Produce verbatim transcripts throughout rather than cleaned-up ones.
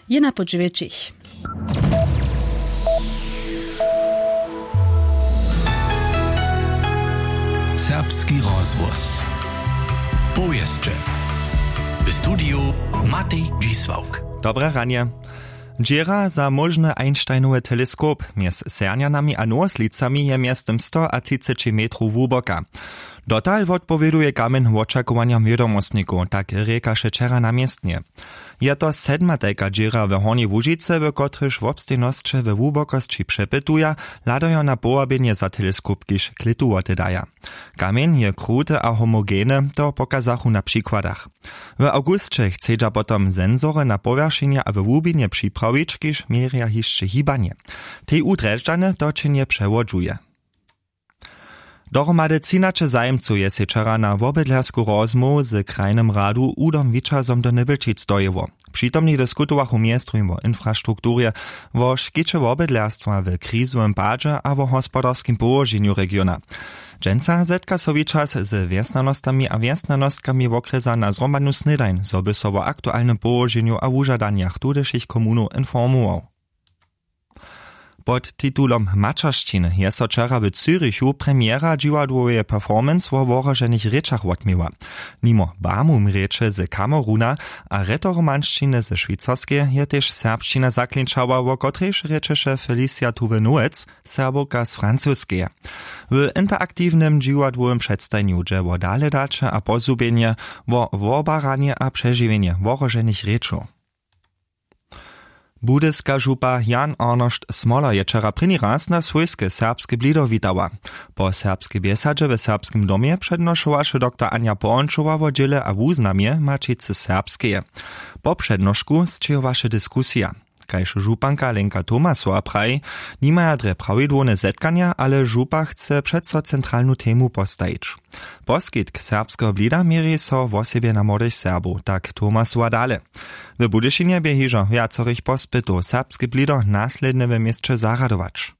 Jena po dźewjećich. Serbski rozhłos. Powěsće. W studiju Matej Dźisławk. Dobre ranje. Dźěra za móžny Einsteinowy teleskop mjez Sernjanami a Nowoslicami je mjeztym sto a třiceći metrow hłuboka. Dotal wotpowěduje kamjeń wočakowanjam wědomostnikow, tak rěkaše wčera na městnje. Je to sedma tajka dźěra w Hornjej Łužicy, w kotrejž wobstejnosće we hłubokosći přepytuja, hladajo na powabjenje za teleskop, kiž klětu wotedaja. Kamjeń je kruty a homogeny, to pokazachu na přikładach. W awgusće chcedźa potom sensory na powjeršenje a we hłubinje připrawić, kiž měrja hišće hibanje. T U Drježdźany to činje přewodźuje. Dohromady třinaće zajimcow je sej wčera na wobydlersku rozmołwu z krajnym radu Udom Wićazom do Nybelčic dojěło. Přitomni diskutowachu mjez druhim wo infrastrukturje, wo škiće wobydlerstwa w krizowym padźe a wo hospodarskim połoženju regiona. Dźensa zetka so Wićaz z wjesnjanostami a wjesnjanostkami wokrjesa na zhromadnu snědań, zo by so wo aktualnym połoženju a wužadanjach tutešich komunow informował. Pod titulom Maćeršćiny je so wčera w Zürichu premiera dźiwadłoweje performance wo wohroženych rěčach wotměła. Nimo Bamum rěče z Kameruna a retoromanšćiny ze Šwicarskeje je tež serbšćina zaklinčała, wo kotrejž rěčeše Felicia Tuwe-Nowec, Serbowka z Francoskeje. W interaktiwnym dźiwadłowym předstajenju dźe wo daledaće a pozhubjenje, wo wobaranje a přežiwjenje wohroženych rěčow. Budyska župa Jan Arnošt Smoler je wčera prěni raz na swójske serbske blido witała. Po serbskej bjesadźe w Serbskim domje přednošowaše doktor Anja Połončowa wo dźěle a wuznamje Maćicy Serbskeje. Po přednošku sćěhowaše diskusija. Kaž županka Lenka Tomasowa praji, nimaja drje prawidłowne zetkanja, ale župa chce přeco centralnu temu postajić. Poskitk serbskeho blida měri so wosebje na młodych Serbow, tak Tomasowa dale. W Budyšinje bě hižo wjacorych pospytow serbske blido naslědnje w měsće zarjadować.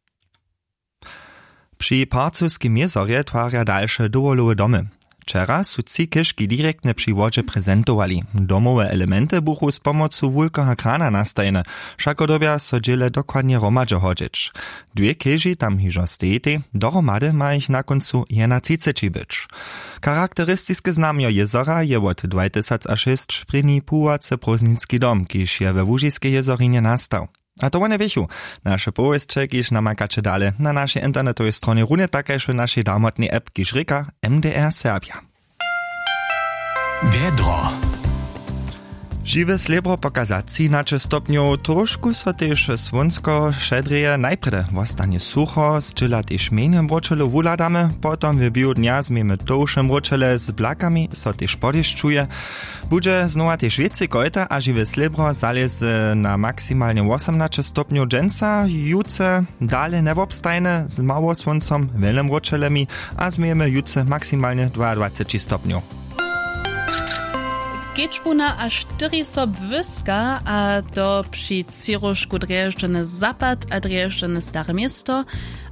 Při Parcowskim jězorje twarja dalše dowolowe domy. Wčera su tři chěžki direktnje při wodźe prezentowali. Domowe elementy buchu z pomocu wulkeho krana nastajene, wšako dyrbja so dźěle dokładnje hromadźe hodźeć. Dwě chěži tam hižo stejitej, dohromady ma jich na kóncu jena třiceći być. Charakteristiske znamjo jězora je wot dwajtysac a šěsć prěni puwacy prózdninski dom, kiž je we Łužiskej jězorinje nastał. A to wone běchu naše powěsće, kiž namakaće dale na našej internetowej stronje, runje tak kaž w našej damotnej app, kiž rěka M D R Serbja. Wjedro. Žiwe slěbro poka za třinaće stopnjow, trošku so tež słónsko šedrjeje. Najprjedy wostanje sucho, sćěla tež mjenje mróčele wuhladamy, potom w běhu dnja změjemy tołše mróčele, z blakami so tež podešćuje. Budźe znowa tež wěcej kojta a žiwe slěbro zalěze na maksimalnje wosomnaće stopnjow dźensa, jutře dale njewobstajne z mało słóncom, wjele mróčelemi, a změjemy jutře maksimalnje dwajadwaceći stopnjow. Kedźbuna a štyri so błyska, a to při třěrušku Drježdźany zapad a Drježdźany stare město,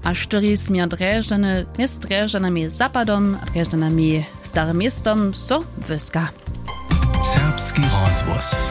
a štyri směr Drježdźany mjez Drježdźanami zapadom a Drježdźanami starym městom so błyska. Serbski rozhłos.